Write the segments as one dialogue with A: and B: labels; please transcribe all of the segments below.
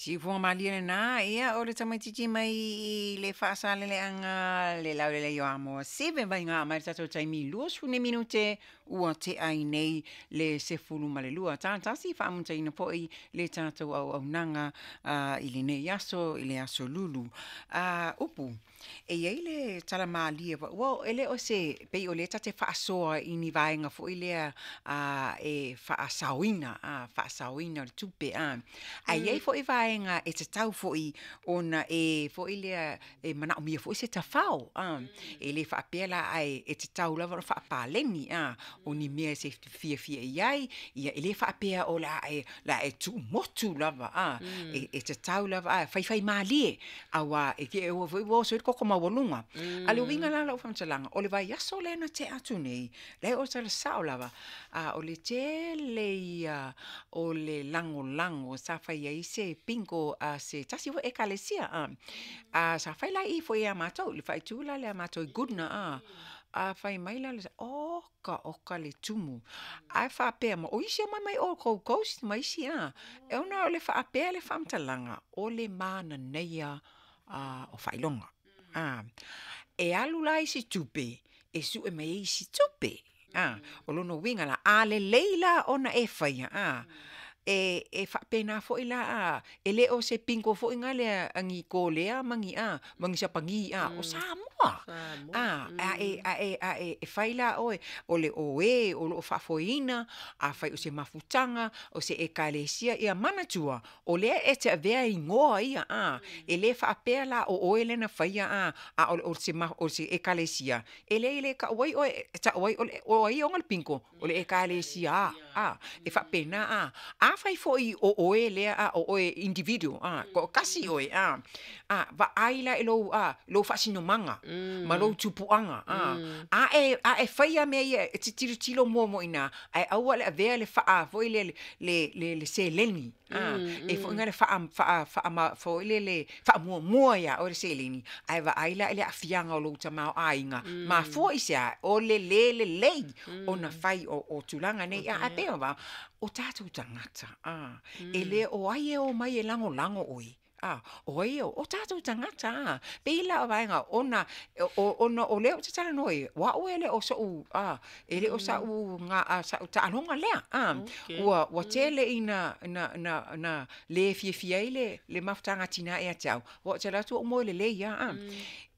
A: Siufofoga malie lena, ia o le tamaitiiti mai i le Faasaleleaga le Laulelei o Amoa 7 vaiga mai le tatou taimi 20 minute ua tea ai nei le 12. Tatasi faamuta foi le tatou auaunaga i lenei aso, i le aso Lulu. Upu, e i ai le tala malie, ua e le o se, pei o lea ta te faasoa i ni vaega foi lea e faasaoina, faasaoina o le tupe. Ae i ai foi vaega e tatau foi ona e foi lea e manaomia foi se tafao. E le faapea la ae e tatau lava ona faapaleni o ni mea e te fiafia i ai, ia e le faapea o le a e tuumotu lava, e tatau lava, ae faifai malie, aua e te i foi ua oso ai le toto maualuga. A o le uiga la o lau faamatalaga, o le vaiaso lea na tea atu nei, leai o le tala sao lava, a o le tele ia o le lagolago sa fai ai se bingo a se tasi foi ekalesia, a sa fai la i foi ia matou, le faaitu la lea a matou i Goodna, a fai mai la, oka oka le tumu, ae faapea mai, o isi e omai mai o Gold Coast ma isi e ona o le faapea le faamatalaga, o le manaia o faailoga. E alu la isi tupe, e sue mai ai isi tupe. O lona uiga la, a lelei la ona e faia, e faapena foi la, e le o se bingo foi na lea a ni Kolea ma ni ma ni Sapani, o Samoa. A e fai la oe, o le oe o lo o faafoeina, afai o se mafutaga, o se ekalesia, ia manatua, o lea e te avea igoa ia, e le faapea la o oe lea na faia, a o se ekalesia, e leai e le tau ai oe, e tau ai o ai e ona le bingo, o le ekalesia a, e faapena a. Afai foi o oe lea, o oe individual, toatasi oe, vaai la i lou, lou faasinomaga ma lou tupuaga, a e faia mea ia, e te tilotilo muamua i ina, ae aua le avea le faa foi lea le seleni, e foi na le foi lele faamuamua ia oe le seleni, ae vaai la i le aafiaga o lou tamaoaiga, mafua i se a? O le le lelei ona fai o tulaga nei, ae pei o o tatou tagata, e le o ai e omai e lagolago oe, o ai o tatou tagata, pei la o vaega ona o lea ou te talanoa ai, o au e le o so'u, e le o sa'u taaloga lea, ua tele ina na le fiafia ai le mafutaga a tina ia te au, aua ou te alu atu ou moe lelei lava,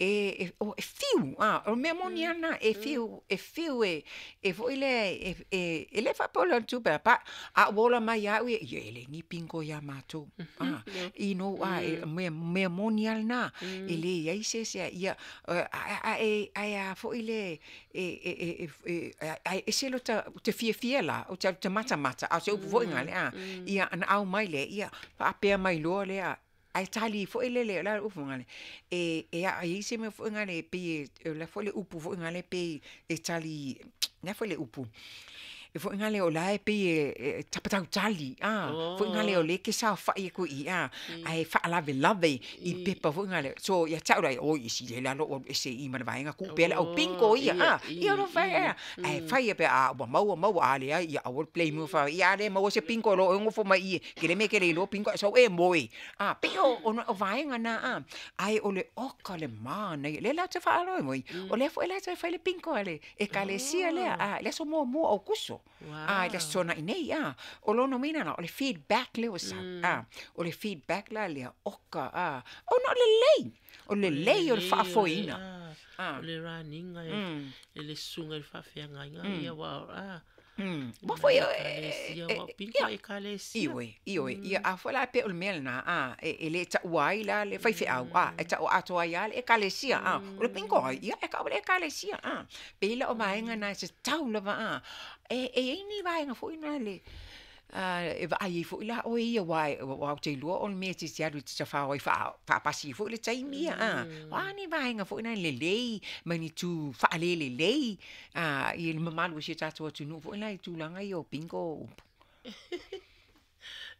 A: e fiu, o le mea moni lava lena, e fiu, e fiu e foi lea e le faapea o le tupe, a ua ola mai ia au ia, ia e leai ni bingo ia matou. You know, mea moni lava lena, e leai se isi, ia, ae a foi le, ae ese lota, ou te fiafia la, ou te alu ou te matamata, a o se upu foi lena, ia ona au mai lea, ia faapea mai loa lea, ae tali foi lele, o le a le upu foi lea, e i ai se mea foi lea, pei o le a foi le upu foi lea pei e tali, o le a foi le upu, e foi lea o la e pei e tapatautali, foi lea o lea e te saofai atu i i, ae faalavelave i pepa foi lea. So ia te au la, oi e sili ai la lou alu ese i i ma le vaega, tuu pea le au bingo ia, ia o fai, ae fai pe a ua maua maua, a leai, ia aua le blame fa, ia a le maua se bingo loa e nofo mai i i, ke le mea e te le iloa bingo ae sau e moe. Pei o vaega na, ae o le oka le manaia, lea la ou te faalogo ai, o lea foi la toe fai le bingo a le ekalesia lea, i le aso muamua o Aokuso, i le aso Toonai nei, o lona uiga la, o le feedback lea ua sau, o le feedback la lea, oka, ona o le lelei, o le lelei o le faafoeina.
B: O le raniga e le susuga i le faafeagaiga, ia ua,
A: Ua foi
B: ekalesia, ua bingo ekalesia.
A: Ioe, ioe, ia a foi la pei o le mea lena, e le taua ai la le faifeau, e tau atoa ai lava le ekalesia, o le bingo ai, ia e tau le ekalesia, pei la o vaega na e tatau lava, e i ai ni vaega foi na le, e vaai ai foi la oe ia, aua ou te iloa o le mea e te alu e te tafao ai faapasi foi le taimi ia, o a ni vaega foi na lelei ma ni tu faalelelei i le mamalu o si o tatou atunuu foi la i tulaga ia o bingo upu.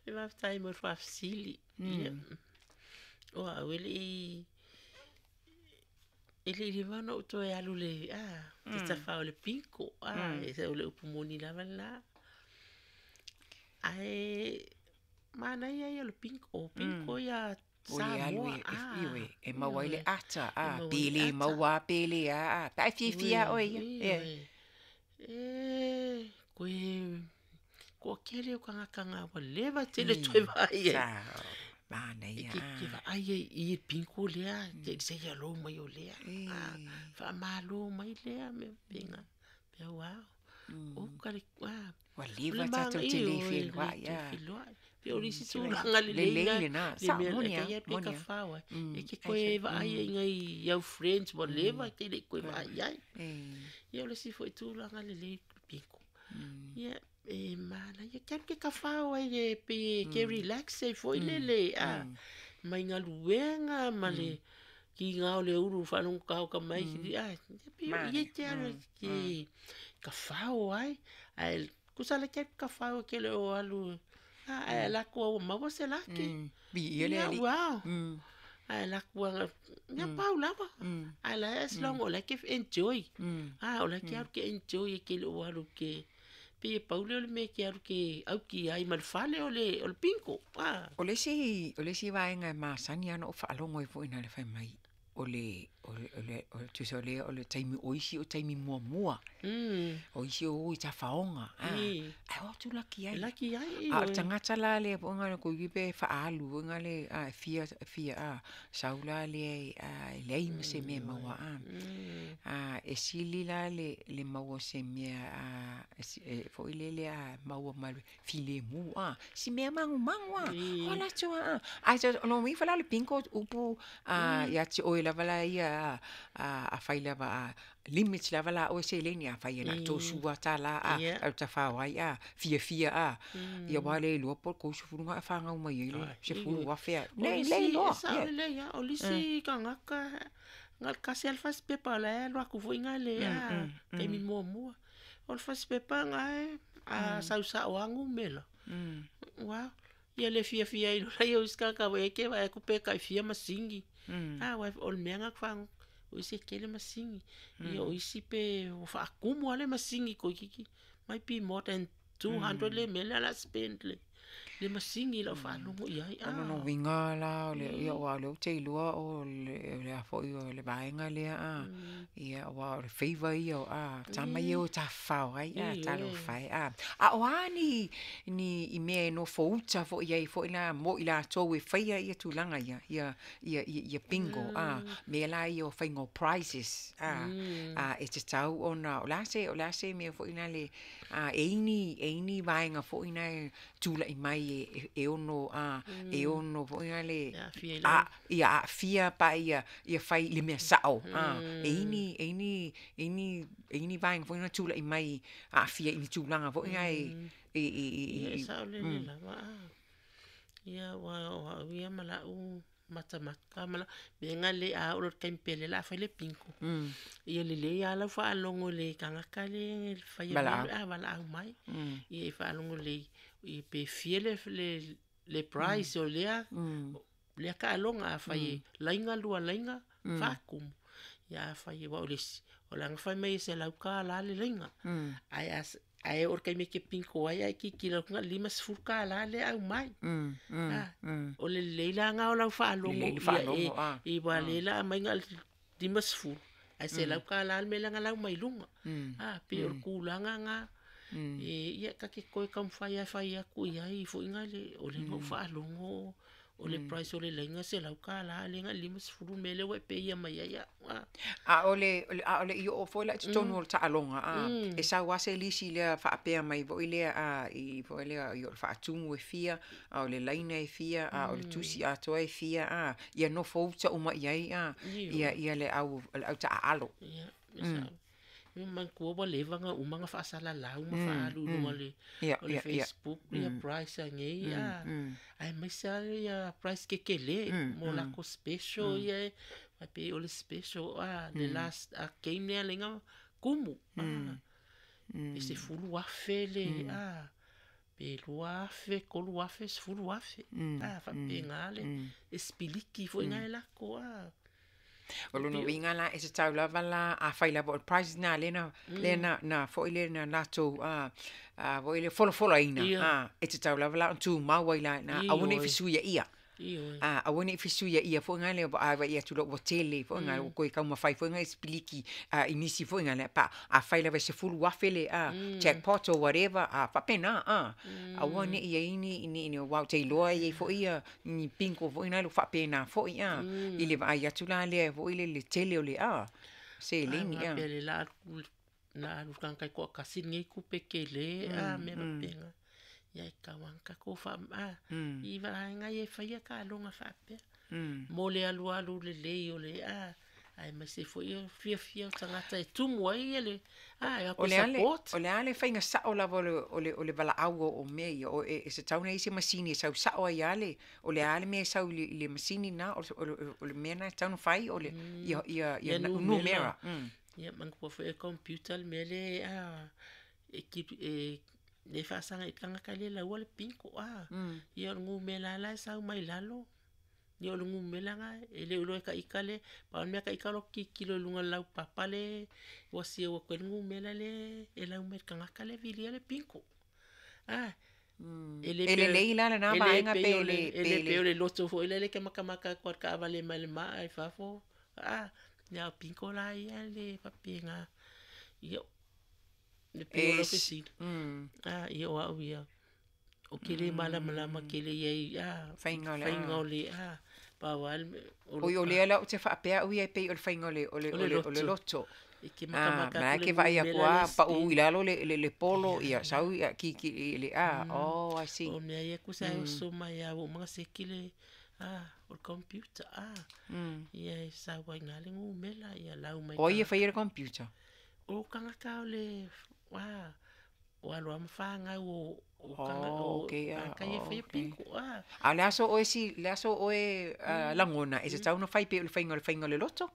B: E faafetai mo le faafesili. Ia. O au e le i e le i leva ona ou toe alu le te tafao i le bingo, e o le upu moni lava lena. Ae Manaia ia o le bingo, o bingo ia
A: O le alu
B: Samoa,
A: e,
B: ah,
A: ioe, e maua ai le
B: ioe,
A: ata,
B: e
A: a,
B: maua
A: pe
B: ai le
A: le
B: ata.
A: maua a, pe le a, a, pe a e fiafia
B: Ioe,
A: oe ia, e.
B: ioe. E, koe, toatele o tagata na ua leva tele toe vaai ai.
A: Sa,
B: E
A: manaia,
B: ke ke
A: a.
B: vaai ai i le bingo lea, te i se ia lou mai o lea.
A: E.
B: Ah, faamalo mai lea mea faapena. Pe wow. Oka le ah,
A: Ua
B: o le
A: leva tatou te le
B: ioe, le
A: feloai,
B: toe
A: a.
B: feloai. Pe o le isi
A: Sila
B: tulaga lelei
A: lelei
B: na,
A: lena,
B: le
A: sao,
B: mea
A: moni
B: e
A: lava,
B: te alu e
A: moni lava.
B: tafao ai. E te
A: Ai
B: toe
A: foi.
B: vaai ai i au friends ua leva e te lei toe vaai ai.
A: E.
B: Ia o le isi foi tulaga lelei bingo. Ia, e manaia, ke alu ke tafao ai e pei e ke relax ai foi lele, a, mai galuega ma le kiga o le ulu faalogotagota mai, a, ia pei o i e
A: Manaia.
B: te alu e ke tafao ai. Ae tusa la ke alu tafao e ke le o alu, a, ae alu atu lava ua maua se laki.
A: Viia le
B: Ia,
A: Alii.
B: wow. Ae alu atu lava, ia pau lava. Ae la as long o la e ke enjoy. A, o la e ke alu ke enjoy e ke le o alu ke, pei e pau lea o le mea e ke alu ke auki ai ma le fale o le bingo. A.
A: O le isi vaega e masani lava ona ou faalogo ai foi ina le fai mai, o le, o le, o le, o le tusa o lea o le taimi o isi o taimi muamua. O isi o o i tafaoga, a, ae o atu laki ai.
B: Laki ai,
A: A o le
B: ioe.
A: tagata la lea foi na toeitiiti pe faaalu foi na le, a, e fia, fia, a, sau la lea a, e leai ma se mea e maua, a. A, e sili la le maua o se mea, a, e foi lele a maua ma le filemu, a, si mea magumagu, a, o latou lava, a. Ae o lona uiga la o le bingo upu a ia te oe lava la ia, a, afai lava a limit lava la oe seleni, afai e na o le $30, a, e alu tafao ai, a, fiafia, a, ia aua e le iloa po o le 30 na e fanau mai ai le $10,000 a.
B: O
A: Le
B: le
A: le
B: isi,
A: iloa.
B: e sao lelei lava, o le isi tagata, na o le tasi lava le fasipepa o la e alu atu foi lale a, taimi muamua. O le fasipepa lena a sau sao lava numera. Uau, ia le fiafia ai loa o isi tagata foi e te vaai atu pe tai fia masini. A, aua o le mea lena ou te faalogo, o isi e tele masini. Ia o isi pe ua faatumu lava le masini toeitiiti, might be more than 200 le mea lea o le a spend le masini i lau faalogo i ai.
A: O lona
B: Ah.
A: uiga la o le, ia aua o lea ou te iloa o le a foi o le vaega lea, a, ia aua o le favour ia o a tama ia e o e tafafao ai, a, talofa e, a. A o a ni, ni i mea e nofouta foi ai foi la mo i latou e faia ia tulaga ia, ia, ia, ia, ia bingo, a, mea la ia o faiga o prizes, a, a, e tatau ona, o le a se, o le a se mea foi lale, a, e i ai ni, e i ai ni vaega foi na e tulai mai e, e ono, a, e ono foi lale,
B: E aafia i
A: a,
B: lau.
A: ia aafia pa ia, ia fai i le mea sao, a, e i ai ni, e i ai ni, e i ai ni, e i ai ni vaega foi na tulai mai aafia i ni tulaga foi na e, i, i, i,
B: Ia e
A: i,
B: saolele lava a. Ia aua o au ia ma lau matamata ma lau mea na le a oo loa i le taimi pele o le a fai le bingo. Ia lelei lava lau faalogo i le tagata lea e faia mea
A: Valaau.
B: a valaau mai. Ia e faalogo lelei ia pe fia le le prize o lea lea taaloga afai e laina lua laina, faatumu. Ia afai aua o le isi, o le a na fai mai e $100 le laina. Ae a ae oo i le taimi e te bingo ai ae tilotilo atu na o le $50 lea e aumai. A, o le lelei la lena o lau faalogo
A: Lelei le
B: ia
A: faalogo, a.
B: e aua o lea o le a aumai na o le 50 ae $100 le mea lea na lau mai luga. A, pei o le tulaga lena. E ia ta te toe taumafai lava e fai atu i ai foi lale, o lea na ou faalogo o le price o le laina e $100 a o lea na o le 50 le mea lea ua e peia mai ai au. A.
A: A o le, a o le i oo foi la i totonu o le taaloga, a, e sau lava se lisi lea faapea mai foi lea, a, i foi lea, i o le faatumu e fia, a o le laina e fia, a o le tusi atoa e fia, a, ia nofouta uma i ai, a, ia, ia le au, le au taaalo.
B: Ia, e sao. E manatua ua leva ona uma ona faasalalau ma faaalu i luga o le
A: Ia,
B: o le
A: ia, ia.
B: Facebook ia price anei a. Aemaise lava ia price tetele mo latou special ia e faapei o le special a le last a game lea laina kumu a. Pe $10,000 le a, pe 2,000, 3,000, $10,000. A, faapena le e sipiliki foi lena e lako a.
A: O lona uiga la e tatau lava la afai lava o le prize lena lea na lea na na foi lea na latou foi lea folafolaina e tatau lava la ona tumau ai la i ina, aua ne i fesuiaia. Aua ne i fesuiaia foi na lea a vaai atu loa ua tele foi na ua toe taumafai foi na e sipiliki i nisi foi na lea pe afai lava e $10,000 le jackpot or whatever, faapena, aua ne i i ai ni aua ou te iloa e i ai foi ni bingo foi na ua faapena foi i le vaai atu la lea foi lele i le tele o le seleni.
B: A faapea o le a alu le tagata e toatasi lenei tupe tele mea faapena. Ia e tatau lava ona tatou i vaega ia e faia taaloga faapea mo le alualu lelei o le aemaise foi o le fiafia o tagata e tumu ai ia le
A: o support. O le a le faiga sao lava o le valaau o mea ia, e tatau ona i ai se masini e sau sao ai lava le, o le a le mea e sau i le masini lena, o le mea lena e tatau ona fai, o le ia numera.
B: Ia manatua foi e computer le mea lea e le faasaga i le tagata lea e laua le bingo. Ia o le numera la e sau mai lalo. Ia o le numera lena, e le o iloa e ta ita le, pau le mea ta ita o lo tilotilo i luga o le laupapa le ua siau atu ai le numera lea e lau mai i le tagata lea e vilia le bingo.
A: E lelei la lena vaega pe le...
B: E le pei o le loto foi lea e te matamata atu lava i le taavale mai le maa i fafo. Ia o bingo la ia e le faapena. Ia, e pei o lau fesili, ia o au ia, ou te le malamalama tele i ai i faiga o le pau lava le mea.
A: Oi, o lea la ou te faapea au ia e pei o le faiga o le loto.
B: E te matamata
A: atu le numera lea. Ma e te vaai atu lava pau i lalo le polo, ia sau kiki i le oh, I see.
B: O mea ia tusa e oso mai lava ua uma ona seki le o le computer, ia e sau ai i ina le numera, ia lau mai.
A: O ai e faia le computer?
B: O tagata o le, o alo lava ma fanau o tagata ia e faia bingo.
A: A o le a so oe, le a so oe lagona e tatau ona fai pei o le faiga o le faiga o le loto?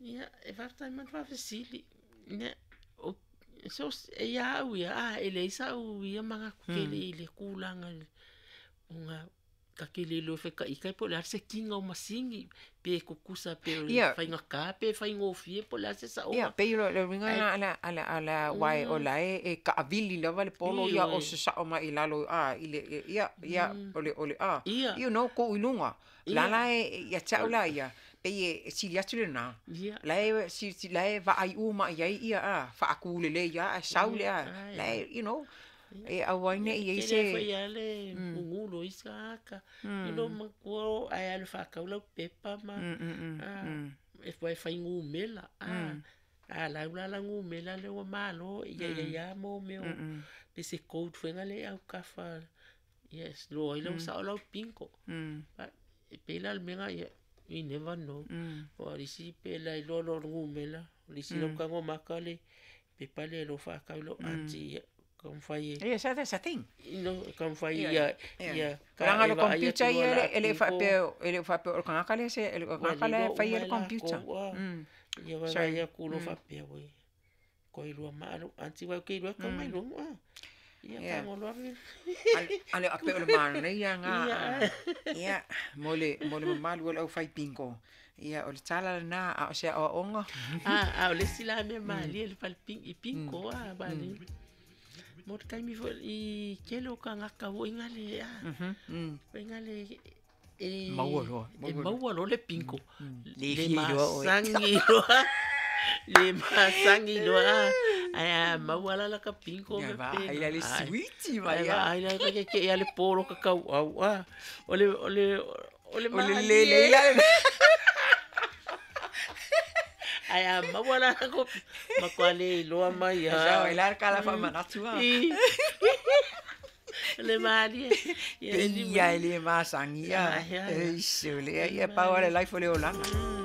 B: Ia, e faafetai mai le faafesili. So, e ia au ia, e leai sau ia manatu tele i le tulaga ona ta te le iloa e fai po o le a le sekiga o masini, pe tutusa pe o le faigata pe faigofie po o le a se saoga.
A: Ia, pei o le uiga lena aua o la e taavili lava le polo ia o sasao mai i lalo i le, ia, ia, o le, o le, you know, tuu i luga. La la e, ia te au la ia, pei e sili atu lena. La e, la e vaai uma i ai ia, faatu lelei lava ae sau le, la e, you know, e aua ai ne i ai se...
B: E tele foi lava le gugulu o isi tagata. I lou matua ae alu e faatau lau pepa ma e fai numera. A lau la lau numera lea ua malo, ia i ai lava mo mea o pe se code foi lea e autafa ia e iloa ai lau sao lau bingo. E pei la o le mea lena, ia, you never know. Aua o le isi pe lailoa loa o le numera, o le isi lau tago maka le pepa lea e iloa faatau i lau aunty ia taumafai e...
A: Yes, that's a thing.
B: You know, taumafai ia ia
A: Leaga o le computer ia e le faapea e le faapea o le tagata lea se o le tagata la e faia le computer.
B: Ia vaai atu loa faapea oi koe lua maa lou aunty aua ou te iloa e tau mai luga. Ia tago loa
A: Ale a pei o le manaia lena. Ia mo le mamalu o le aufai bingo. Ia o le tala lena a o se aoaoga.
B: A o le isi la mea malie le fale bingo a malie. Mo le taimi foi i tele o tagata foi gale a. Foi gale e
A: maua loa.
B: E maua loa le bingo. Le masagi loa. Le masagi loa. Ae a maua la laka bingo
A: me pe. Ai la le suiti mai.
B: Ai la ke ke ia le polo ka kau au a. O le o le o le
A: le le la.
B: Ae a maua la ko matua le iloa mai
A: a. Sa oi la kala fa manatu a.
B: Le malie.
A: Ia e le masangi ia. Eish, o lea ia pau le life o le olaga.